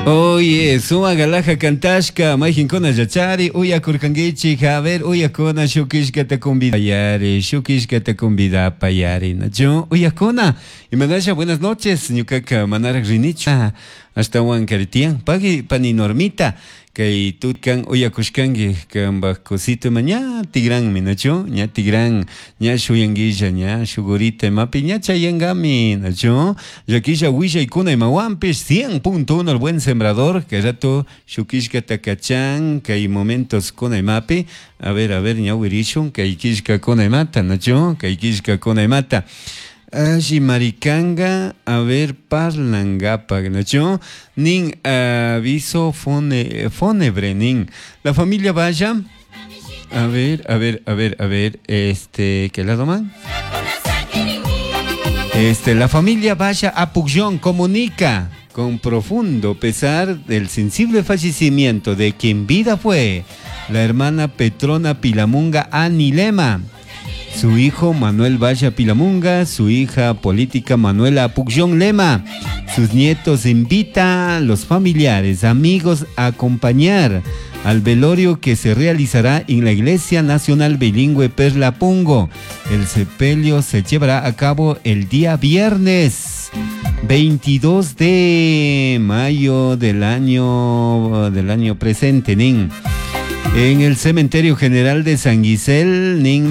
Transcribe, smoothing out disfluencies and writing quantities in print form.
Oye, suma galaja kantashka, mayqinkuna yachari, uyakurkankichik, a ver, uyakuna shukishkata convidayari, shukishkata convidapayari, nachu? Uyakuna, imanasha, buenas noches, ñukaka manaraq rinichu, ashtawan karitiyan, pagui pani Normita, kay tutkan uyakushkanki, kanpaj kusito ima ña tigranmi, nachu? Ña tigran, ña shuyanguilla, ña shugurita imapi, ña chayangami, nachu? Llakilla willaykuna imawanpish 100.1 El Buen Sembrador, kay rato shukishkata kachan, kay momentos kuna imapi, a ver, ñawirishun, kay killkakuna imata, nachu? Kay killkakuna imata. Alli maricanga, a ver, parlangapak, nachu? Nin aviso fúnebre, nin. La familia vaya. A ver, a ver, a ver, a ver, este, ¿qué lado man? Este, la familia Vaya a Pugyón comunica con profundo pesar del sensible fallecimiento de quien vida fue la hermana Petrona Pilamunga Anilema, su hijo Manuel Vaya Pilamunga, su hija política Manuela Pugyón Lema, sus nietos. Invita a los familiares, amigos a acompañar al velorio que se realizará en la Iglesia Nacional Bilingüe Perla Pungo. El sepelio se llevará a cabo el día viernes 22 de mayo del año presente, nin. En el Cementerio General de San Gisel, nin.